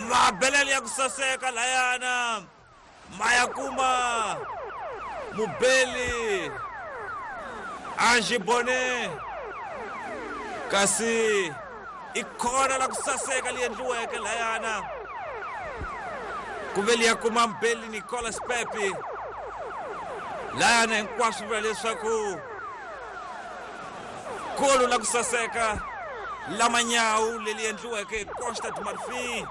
Mabelele ya ku saseka layana ma ya kuma mubeli Ange Bonnet, kasi i khona la ku saseka li endliweke layana ku ve liya kuma mubeli Nicolas Pepe layana. Hinkwaswo vula leswaku golo la ku saseka lamanyawu leli endliweke hi Costa de Marfin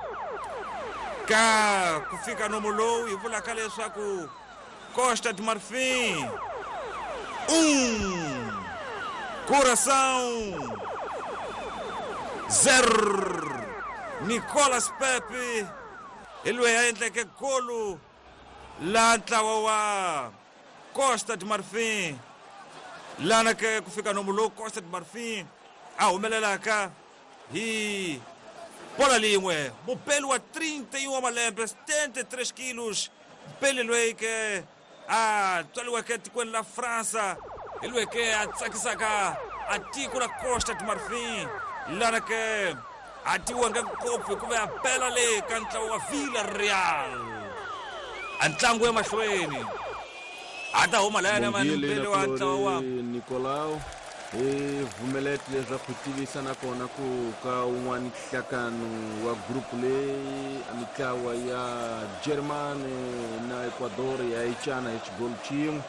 ka ku fika nomo lowu hi vulaka leswaku Costa de Marfin 1, Coração 0. Nicolas Pepe hi loyi a endleke golo la ntlawa wa Costa de Marfin lana ke ku fika nomo lowu Costa de Marfin a humelelaka hi bola lin'we. Mubeli wa 31 wa malembe, 73 kilos, mubeli loyi ke a tswariweke etikweni la Fransa hi loyi ke a tsakisaka a tiko la Costa de Marfin lana ke a tiwanga ngopfu hikuva a bela le ka ntlawa wa Villarreal. A ntlangu emahlweni a ta huma layana mani mubeli wa ntlawa wa Nicolau hi vumelete leswaku tivisa nakona ku ka un'wana nhlakano wa group leyi a mitlawa ya Germany na Ecuador ya icana hi xigolo xin'we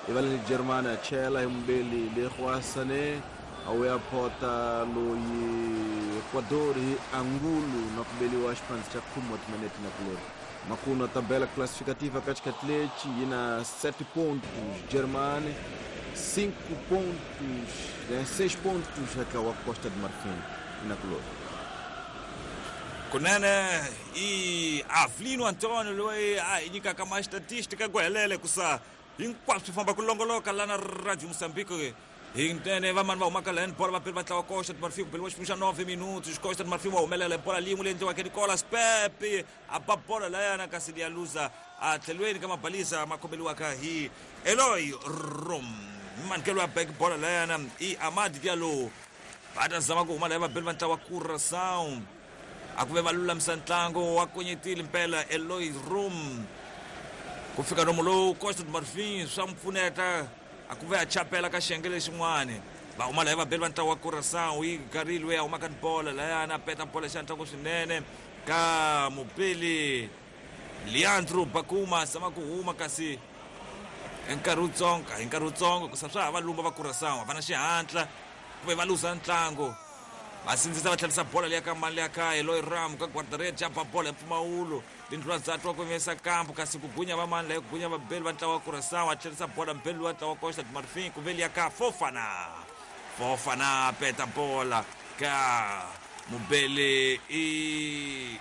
ivaleni Germany a chela hi mubeli Leroy Sané a wu ya phota loyi Ecuador hi Angulo na ku beliwa xiphandzi xa khume wa timinete na kulori. Makuno tabela classificativa ka xikhathi lexi yi na 7 pontos Germany, 5 pontos, 6 pontos ntlawa wa Costa de Marfin na kulori. Kunene i Avelino Antonio loyi a hi nyikaka ma statistika ku helele kusa hinkwaswo swi famba ku longoloka lana Radio Mozambique. Hi nene vamani va humaka lani bola vabeli va ntlawa Costa de Marfin ku beliwa xiphemu xa 9 minutos. Costa de Marfin wa humelela hi bola lin'we leyi endliwaka Nicolas Pepe a ba bola layana kasi liya luza a tlhelweni ka mabalisa ma khomeliwaka hi Eloy Rom. Manikelo ya back bola layana i Amad Diallo, va ta zama ku huma laya vabeli va ntlawa Curaçao. A ku ve va lulamisa ntlangu wa konyetile mpela Eloy Rom ku fika nomu lowu Costa de Marfin swa n'wi pfuneta a ku ve a chapela ka xiyenge lexin'wani. Va huma laya vabeli va ntlawa wa Curaçao yi garile loyi a humaka ni bola layana a peta bola xa ntlangu swinene ka mupeli Leandro Bakuma zama ku huma kasi hi nkarhi wutsongo, hi nkarhi wutsongo kusa swa ha va lumba va Curaçao va na xihatla ku ve va luza ntlangu. Va sindzisa va tlherisa bola liya ka mani liya ka Eloy Ram ka guardarede ya ba bola hi mpfumawulo tindlula dza twa ku vesa kampu kasi ku gunya va mani laya ku gunya vabeli va ntlawa wa Curaçao a tlherisa bola mubeli wa ntlawa wa Costa de Marfin ku ve liya ka Fofana. Fofana peta bola ka mubeli i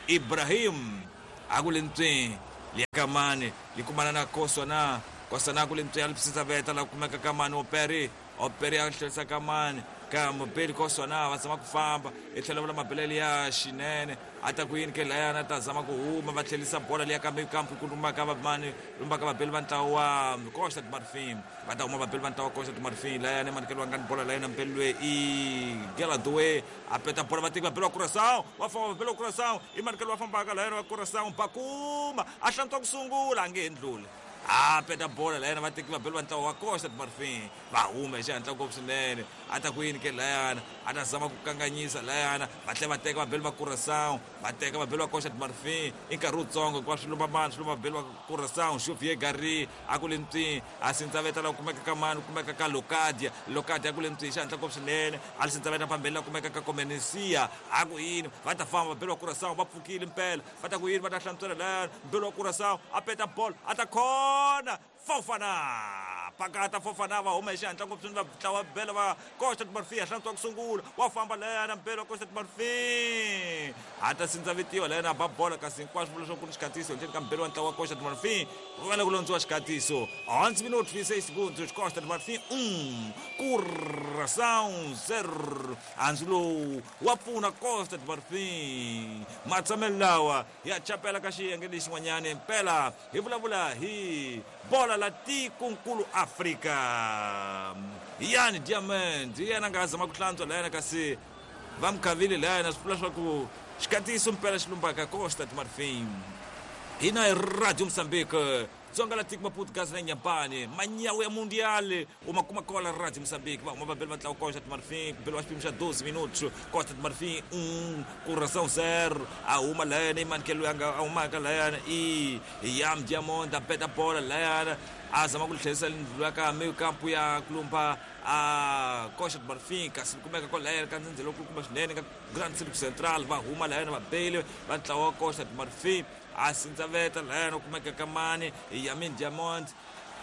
Ibrahim a ku le ntswini liya ka mani li kumana na Koswana. Koswana ku le ntswini a li veta la kumeka ka mani Operi. Operi a tlherisa ka mani ka mubeli Koswana va zama ku famba hi tlhelo vula mabelele ya xinene a ta ku yini ke layana ta zama ku huma va tlherisa bola liya kambe kampu ku lumbaka vamani lumbaka vabeli va ntlawa wa Costa de Marfin. Va ta huma vabeli va ntlawa wa Costa de Marfin layana manikelo wa ngani bola layana mubeli loyi i Geladoe a peta bola vateki vabeli wa Curaçao va famba vabeli wa Curaçao i manikelo wa fambaka layana wa Curaçao Bakuma a hlantswa ku sungula a nge ndluli a peta bola layana vateki vabeli va ntlawa wa Costa de Marfin va huma hi xihatla ngopfu swinene. A ta ku yini ke layana a ta zama ku kanganyisa layana va tlhela va teka vabeli va Curaçao va teka vabeli va Costa de Marfin i nkarhi wutsongo hikuva swi lumba mani swi lumba vabeli va Curaçao. Xavier Gary a ku le ntswini a sindzaveta la kumeka ka mani kumeka ka Locadia. Locadia a ku le ntswini xihatla ngopfu swinene a li sindzaveta phambeni la kumeka ka Comenencia a ku yini va ta famba vabeli va Curaçao va pfukile mpela va ta ku yini va ta hlantswela layana mbeli wa Curaçao a peta bolo a ta khona Fofana pakata Fofana va huma hi xihatla ngopfu swinene va ntlawa bela va Costa de Marfin a hlantswa ku sungula wa famba layana mbele wa Costa de Marfin a ta sindzavetiwa layana a ba bola kasi hinkwaswo vula leswaku ku ni xikhatiso ndzeni ka mbele wa ntlawa wa Costa de Marfin ku fanele ku londziwa xikhatiso. 11 minutos 26 segundos Costa de Marfin 1, Curaçao 0. Handzu lowu wa pfuna Costa de Marfin matshamelo lawa ya chapela ka xiyenge lexin'wanyana mpela hi vulavula hi bola la tikonkulu Afrika. Yani Diamond hi yena a nga zama ku hlantswa layana kasi va mi khavile layana swi vula swa ku Xikatiso mpela xi lumbaka Costa do Marfim. Hina hi Radio Mozambique, Dzonga la tiko Maputo Gaza na Inhambane, manyawu ya Mundial u ma kuma kola Radio Mozambique. Va huma vabeli va ntlawa Costa do Marfim, ku beliwa xipimo xa 12 minutos, Costa do Marfim 1, Curaçao 0. A huma layana i manikelo loyi a nga a humaka layana i Yam Diamond, a beta bola layana a zama ku tlherisa ndlula ka meio campo ya kulumba a Costa do Marfim, kasi kumeka kwalaya ka ndzhendzelo kulukumba swinene ka Grand Circo Central. Va huma layana vabeli va ntlawa wa Costa do Marfim, a sindzaveta layana u kumeka ka mani Yamin Diamond,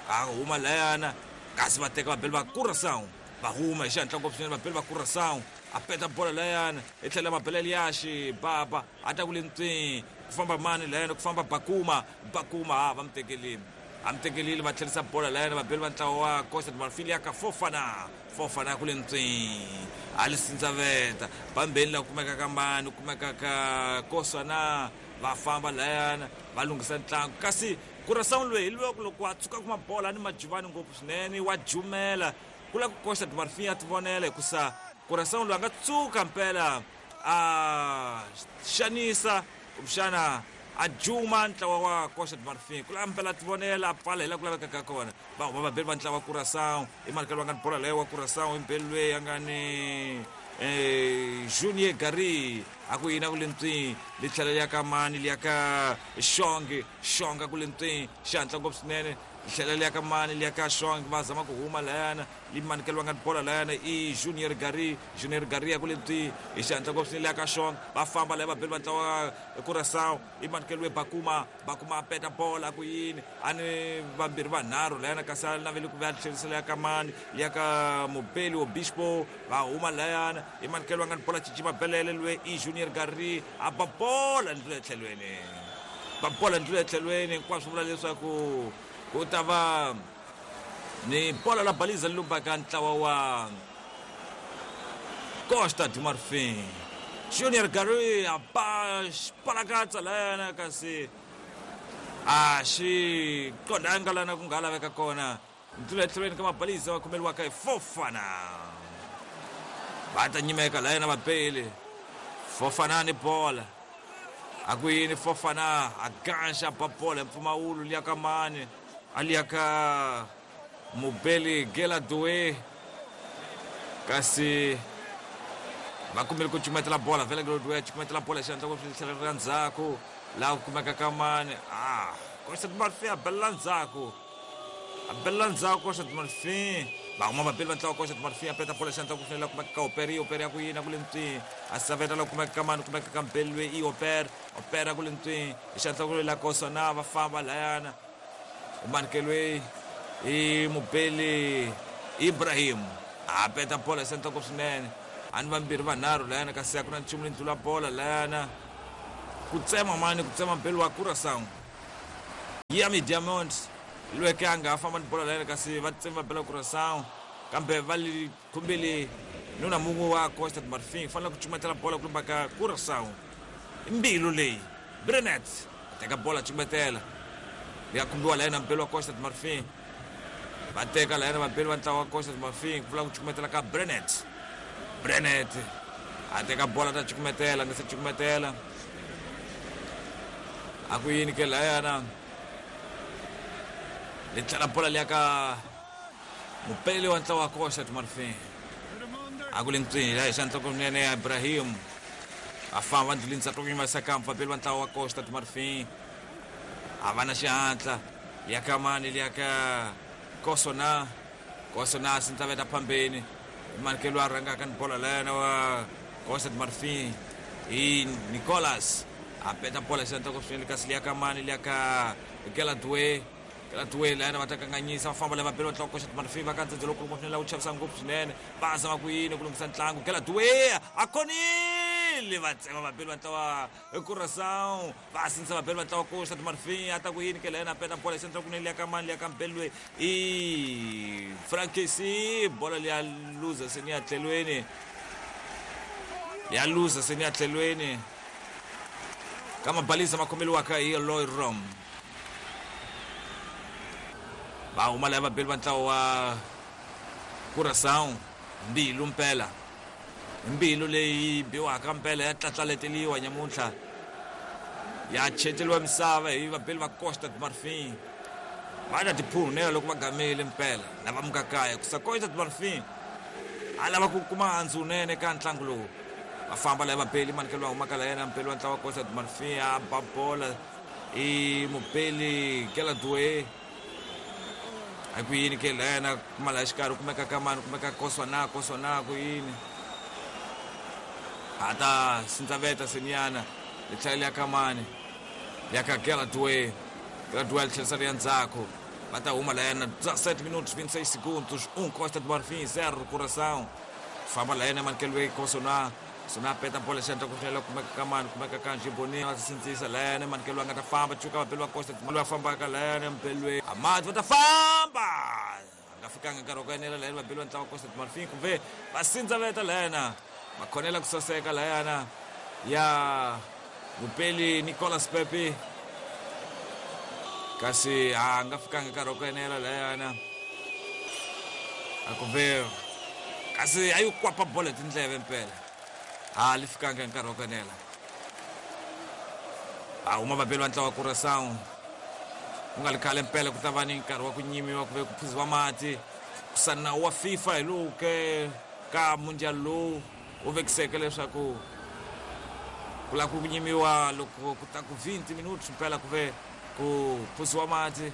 a huma layana kasi va teka vabeli va Curaçao, va huma hi xihatla ngopfu swinene vabeli va Curaçao. A peta bola layana i tlhela mabela Elias Baba a ta ku le ntswini, ku famba mani layana, ku famba Bakuma, Bakuma ha va mi tekelile, a mi tekelile, va tlherisa bola layana vabeli va ntlawa wa Costa do Marfim ya ka Fofana, Fofana ku le ntswini a li sindzaveta bambeni la kumeka ka mani, kumeka ka Kosana, va famba layana va lunghisa ntlangu. Kasi Curaçao loyi hi loko loko a tshuka kuma bola ni majuvani ngopfu swinene wa jumela ku lava ku Costa do Marfim a tivonela, hikusa Curaçao loyi a nga tsuka mpela a xanisa kumbexana a juma ntlawa wa Costa do Marfim, ku lava mpela a tivonela a pfala hi laha ku lavekaka kona. Va huma vabeli va ntlawa wa Curaçao, i manikelo va nga ni bola leyo wa Curaçao, i mbeli loyi a nga ni Junior Gary a ku yini a ku le ntswini, li tlhela li ya ka mani, li ya ka Xongi, Xonga ku le ntswini xihatla ngopfu swinene, li tlhela li ya ka mani, li ya ka Xongi, va zama ku huma layana, li manikelo va nga ni bola layana i Junior Gary, Junior Gary ya ku le ntswini hi xihatla ngopfu swinene, li ya ka Xongi, va famba laya vabeli va ntlawa Curaçao, i manikelo we Bakuma, Bakuma a peta bola ku yini a ni vambirhi vanharhu layana, kasi a naveli ku va tlherisela ya ka mani, ya ka Mobeli Obispo, va huma layana, i manikelo va nga ni bola cici mabelele loyi i Junior Gary a ba bola ndlula etlhelweni, ba bola ndlula etlhelweni, hinkwaswo vula leswaku ku ta va ni bola la baliza lumbaka ntlawa wa Costa do Marfim. Junior Gary a ba xipalakatsa layana, kasi a xi qondanga lana ku nga laveka kona. Ndlula etlhelweni ka mabaliza va khomeriwaka hi Fofana, va ta nyimeka layana vabeli. Fofana ni bola a ku yini, Fofana a ganxa ba bola hi mpfumawulo liya ka mani, a liya ka Mobeli Geladoe, kasi va kumile ku cukumetela bola vhele Geladoe a cukumetela bola xandla ku tlhela ra ndzhaku laha ku kumeka ka mani, a Costa do Marfim a belela ndzhaku, a belela ndzhaku Costa do Marfim, va huma vabeli va ntlawa Costa do Marfim, a peta bola xandla ku fanele kumeka ka Opera, Opera ya ku yini a ku le ntswini, a saveta laha ku kumeka ka mani, kumeka ka Mbeli loyi i Opera, Opera ku le ntswini hi xandla ku la Kosana, va famba layana umanikelo i Mobeli Ibrahim a peta bola xandla ku swinene, a ni vambirhi vanharhu layana, kasi a ku na nchumu leyi ndlula bola layana ku tsema mani, ku tsema mbeli wa Curaçao Yami Diamond lweke a nga ha famba ni bola layana, kasi va tsema va bela Curaçao, kambe va li khumbile nuna mun'we wa Costa do Marfim, fanele ku cukumetela bola ku lumba ka Curaçao. I mbilu leyi Brenet a teka bola cukumetela ya khumbiwa layana mbeli wa Costa do Marfim, va teka layana vabeli va ntlawa wa Costa do Marfim, ku vula ku cukumetela ka Brenet, Brenet a teka bola ta cukumetela, nga se cukumetela a ku yini ke layana, li tlhela bola liya ka mupeli wa ntlawa wa Costa do Marfim, a ku le ntswini la hi xandla kunene ya Ibrahim a famba ndlulini ndzhaku va saka vabeli va ntlawa wa Costa do Marfim a va na xihatla ya ka mani, liya ka Kosona, Kosona sindzaveta phambeni manikelo a rhangaka ni bola layana wa Costa do Marfim i Nicolas a peta bola xandla ku swinene, kasi liya ka mani, liya ka Geladoe, Geladoe layana va ta kanganyisa, va famba lava beli va ntlawa Costa do Marfim va ka ndzhendzelo lowukulu swinene laha wu chavisa ngopfu swinene, va zama ku yini ku lunghisa ntlangu, Geladoe a khonile, va tsema vabeli va ntlawa Curaçao, va sindzisa vabeli va ntlawa Costa do Marfim, a ta ku yini ke layana a peta bola xandla kunene liya ka mani, liya ka mbeli loyi i Frankesi, bola liya luza se ni ya tlhelweni, ya luza se ni ya tlhelweni ka mabalisa ma khomeliwaka hi Eloy Rom. Va huma laya vabeli va ntlawa wa Curaçao, mbilu mpela Mbilu leyi biwaka mpela ya tlatlaleteliwa nyamuntlha ya chenceliwa misava hi vabeli va Costa do Marfim. Va ta tiphunela loko va gamile mpela na va muka kaya kusa Costa do Marfim a lava ku kuma handzu wunene ka ntlangu lowu. Va famba laha vabeli manikelo va humaka la yena mpeli wa ntlawa wa Costa do Marfim a ba bola i mupeli Geladue. A ku yini ke la yena kuma laha xikarhi kumeka ka mani kumeka Koswana Koswana ku yini a ta sindzaveta seniyana li tlhela li ya ka mani ya ka Geladue. Geladue a li tlherisa ri ya ndzhaku va ta huma la yena 17 minutos 26 segundos 1 Costa do Marfim 0 Curaçao. Famba la yena manikelo Koswana Sona peta bola xandla ku tlhela kumeka ka mani kumeka ka Njiboni va sindzisa la yena manikelo a nga ta famba chuka vabeli va Costa va fambaka la yena mpelwe Amadi va ta famba a nga fikanga nkarhi wa ku enela la yena vabeli va ntlawa Costa do Marfim kumbe va sindzaveta la yena va khonela ku saseka la yena ya mupeli Nicolas Pepe kasi a nga fikanga nkarhi wa ku enela la yena a kumbe kasi a yi kwapa bola hi tindleve mpela a li fikanga nkarhi wa ku enela. A huma vabeli va ntlawa wa Curaçao ku nga li khale mpela ku ta va ni nkarhi wa ku nyimiwa ku ve ku phuziwa mati kusa nawu wa FIFA hi lowu ke ka mundial lowu wu vekiseke leswaku ku lava ku nyimiwa loko ku ta ku 20 minutos mpela ku ve ku phuziwa mati.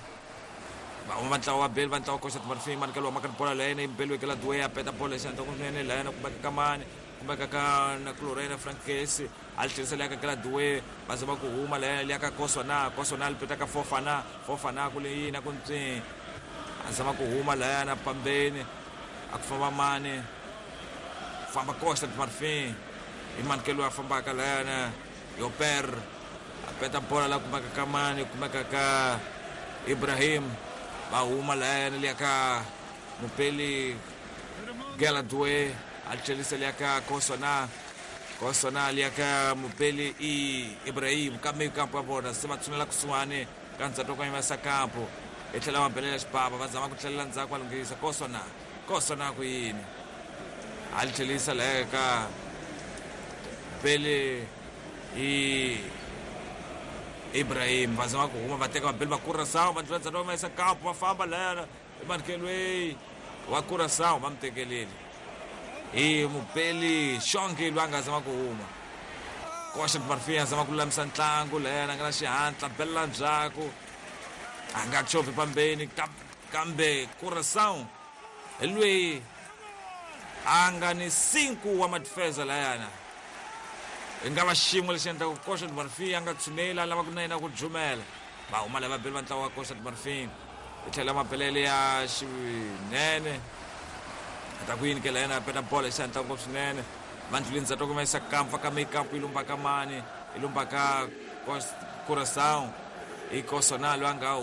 Va huma va ntlawa wa beli va ntlawa Costa do Marfim manikelo wa maka bola la yena beli wekela Dwe a peta bola xandla kunene la yena kumeka ka mani kumeka ka na Clorena Frankesi a li tlherisela ya ka Gladwe va zama ku huma la yena liya ka Koswana Koswana li peta ka Fofana Fofana ku le yini ku ntswi a zama ku huma la yena pambeni a ku famba mani famba Costa do Marfim hi manikelo a fambaka la yena Yoper a peta bola la kumeka ka mani kumeka ka Ibrahim va huma la yena liya ka mupeli Geladwe a tlherisa liya ka Koswana Koswana liya ka mupeli i Ibrahim kambe kampo ya vona se va tshunela kusuhani ka ndzhato ka yimesa kampo i tlhela va belela xibaba va zama ku tlhelela ndzhaku va lunghisa Koswana Koswana ku yini a li tlherisa la ka mupeli i Ibrahim va zama ku huma va teka vabeli va Curaçao va ndlula ndzhato va yimesa kampo va famba layana emanikelo wa Curaçao va mi tekeleli hi mupeli Xongi loyi a nga zama ku huma Costa do Marfim a zama ku lulamisa ntlangu layana a nga na xihatla belela ndzhaku a nga chovhi pambeni kambe Curaçao hi loyi a nga ni 5 wa madifeza layana hi nga va xin'we lexi endlaka ku Costa do Marfim a nga tshuneli a lava ku na yena ku jumela va huma lava beli va ntlawa wa Costa do Marfim i tlhela mabelele ya xinene a ta ku yini ke la yena a peta bola hi xihatla ngopfu swinene va ndluleni ndzhato kuma yisa kampa ka mekampu yi lumba ka mani yi lumba ka Curaçao i Koswana loyi a nga